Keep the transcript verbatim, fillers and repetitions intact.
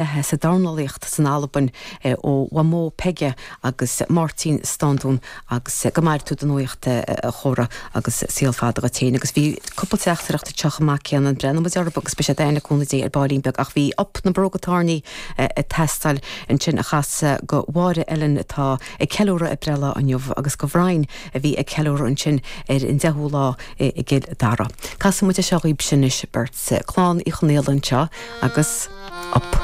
Sa dornálaíocht san Albain ó Mhamó Peige agus Máirtín Standún agus go maire tú do nuacht a chóra agus saol fada duit féin agus bhí cúpla teachtaireacht ag teacht amach céanna breathnóidh muid orthu agus beidh sé le cúnamh Dé ar baillín beag ach bhí Up na Bróga Tairní ag teastáil ansin a chasadh do Mháire Ellen atá ag ceiliúradh a breithlá inniu agus do Bhrian a bhí ag ceiliúradh ansin ar an deichiú lá i gCill Dara. Casfaidh muid seo dhaoibh sin anois beirt clann Uí Chonghaile anseo agus Up na